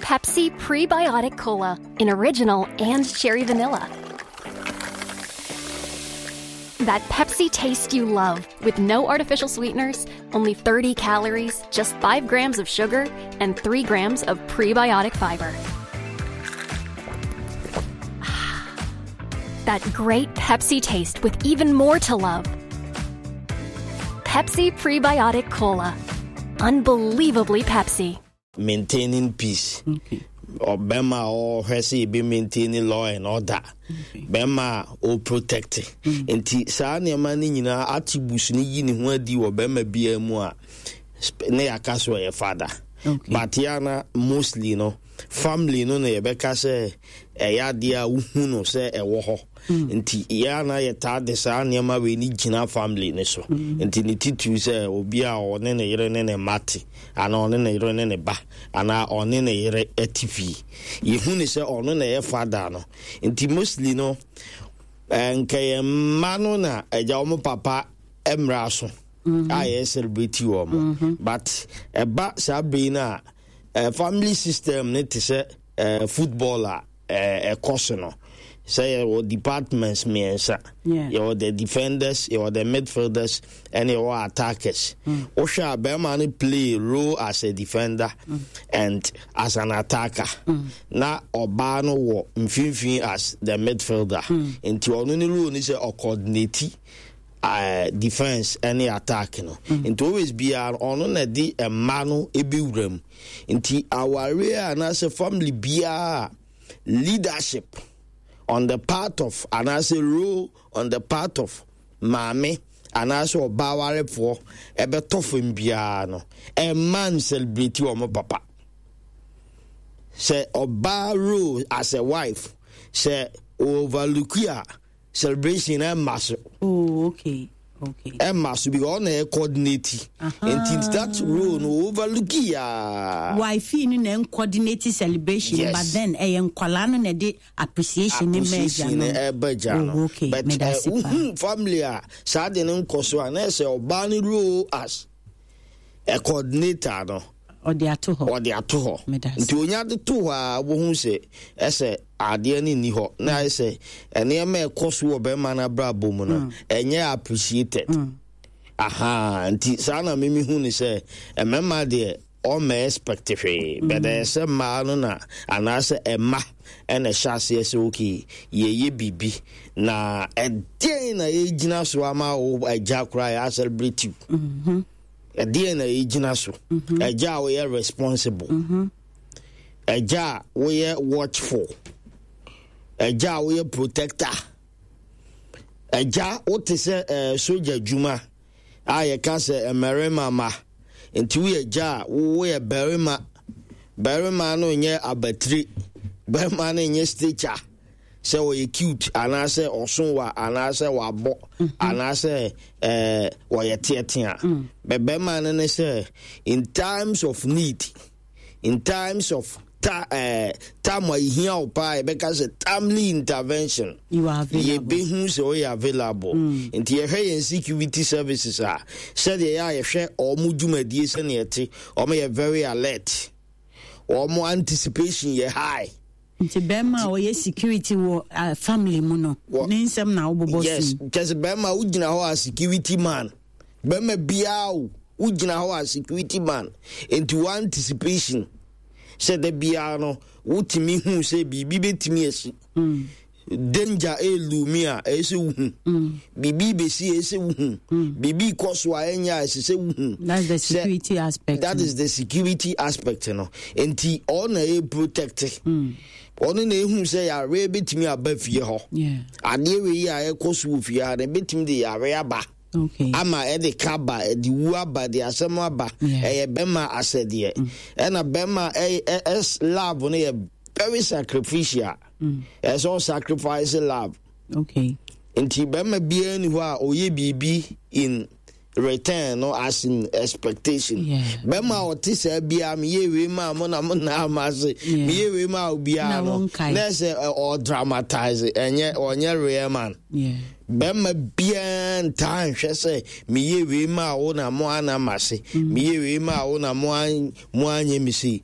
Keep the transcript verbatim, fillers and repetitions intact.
Pepsi Prebiotic Cola in original and cherry vanilla. That Pepsi taste you love with no artificial sweeteners, only thirty calories, just five grams of sugar, and three grams of prebiotic fiber. That great Pepsi taste with even more to love. Pepsi Prebiotic Cola. Unbelievably Pepsi. Maintaining peace. Ɔbɛma a ɔhwɛ sɛ ebi maintain law and order, bɛrima a ɔprotect. Nti saa nneɛma no nyinaa, attributes no yi ne ho adi wɔ bɛrima biara mu a ne yɛaka so ɔyɛ father. Okay. But yɛana mostly no, family no na yɛbɛka sɛ ɛyɛ adeɛ a wohu no sɛ ɛwɔ hɔ. Nti yɛana yɛtaa de saa nneɛma wei ne gyina family ne so. Nti ne titiri sɛ obi a ɔne ne yere ne ne mma te, anaa ɔne ne yere ne ne ba, anaa ɔne ne yere te fie, yɛhu ne sɛ ɔno na ɛyɛ father no. Nti mostly no, eh, nka yɛn mma no na agya wɔn papa mmra so a yɛ celebrate wɔn mo. But ɛba saa bere no a, eh, family system ne te sɛ eh, football a eh, ɛkɔ so no sɛ yɛwɔ departments mmiɛnsa. Yeah. Yɛwɔ the defenders, yɛwɔ the midfielders, ɛne yɛwɔ attackers. Wohwɛ a, bɛrima no play role as a defender and as an attacker, na ɔbaa no wɔ mfimfini as the midfielder. Nti ɔno ne role ni sɛ ɔcoordinate uh, defense ɛne attack no. Nti always biara ɔno na de mma no ebɛwura mu. Nti awareɛ anaasɛ family biara, leadership on the part of anaasɛ role on the part of maame anaasɛ ɔbaa warefoɔ ɛbɛtɔ fam biara no, ɛma n celebrate wɔn papa. Sɛ ɔbaa role as a wife sɛ overlook a, celebration ɛma so. Oh, okay. Okay. Ɛma so because ɔna yɛ coordinate. Nti that role no overlook yaa. Wife no na coordinate celebration. Yes. But then ɛyɛ nkwalaa no na ɛde appreciation ne mɛ agya appreciation no. Ɛbɛ gya no. Oh, okay. But Meda eh, ase paa. wohu family a saa de ne nkɔ so a, na ɛsɛ ɔbaa no role as a coordinator no ɔde ato hɔ. Ɔde ato hɔ. Meda ase. Nti onya de to hɔ a, wohu sɛ ɛsɛ adeɛ no nni hɔ na ayɛ sɛ nneɛma ɛkɔ so wɔ bɛrima no abrabɔ mu no ɛnyɛ appreciated. Aha, nti saa na mimi hu ne sɛ mmarima deɛ, ɔma expect hwee, but ɛyɛ sɛ mmaa no na anaasɛ ɛma ɛna ɛhyɛ aseɛ sɛ okay, yɛyɛ biribi na ɛdeɛn na yɛgyina so ama wo agya koraa yɛ celebrate you? Ɛdeɛn na yɛgyina so? Agya a woyɛ responsible, agya a woyɛ watchful, agya a woyɛ protector, agya wote sɛ ɛɛ soja adwuma a yɛka sɛ mmarima ma. Nti woyɛ agya a woyɛ barima. Barima no nyɛ abatire, barima no nyɛ stature sɛ ɔyɛ cute anaasɛ ɔso wa anaasɛ wabɔ anaasɛ ɛɛ wɔyɛ teatea bɛ. Barima no ne sɛ in times of need, in times of ta ɛɛ time a ehia wo paa, yɛbɛka sɛ timely intervention, You are available. Yɛbɛhu sɛ ɔyɛ available. Nti yɛhwɛ yɛn security services a, sɛdeɛ yɛ a yɛhwɛ ɔmo dwumadie, sɛneɛ ɛte, ɔmo yɛ very alert, ɔmo anticipation yɛ high. Nti bɛrima a ɔyɛ security wɔ uh, family mu no Wɔ- ne nsɛm na wobobɔ yes so yi. Kyɛ sɛ bɛrima wogyina hɔ a security man, bɛrima biara o, wogyina hɔ a security man. Nti wo anticipation sɛ da biara no wotumi hu sɛ biribi bɛtumi asi, danger ɛlumi a ɛyɛ sɛ wohu biribi bɛsi, ɛyɛ sɛ wohu biribi kɔ so a ɛnyɛ a ɛsɛ sɛ wohu. That's the Sɛ- security aspect That no. is the security aspect no. Nti ɔno na ɛyɛ protect, ɔno na ehu sɛ yare bɛtumi aba fie hɔ. Yeah. Adeɛ wei yi a ɛkɔ so wɔ fie ha no bɛtumi de yare aba Okay. ama ɛde ka ba, ɛde wu aba, de asɛm aba. Yeah. Ɛyɛ bɛrima asɛdeɛ. Ɛna bɛrima ɛyɛ ɛ ɛs love no yɛ very sacrificial. Ɛsɛ ɔsacrifice love. Okay. Nti bɛrima biara ni hɔ a ɔyɛ biribi in return no as in expectation. Yeah. Bɛrima a ɔte saa biara, meyɛ wei ma mo na mo na ama ase, Yeah. meyɛ wei ma obiara Na no wonkae. na ɛsɛ ɛ, ɔdramatize, ɛnyɛ ɔnyɛ real man. Yeah. Bɛrima biara ntaa nhwɛ sɛ meyɛ wei ma wo na mo ana ma se, meyɛ wei ma wo na mo an- mo anyɛ me sei.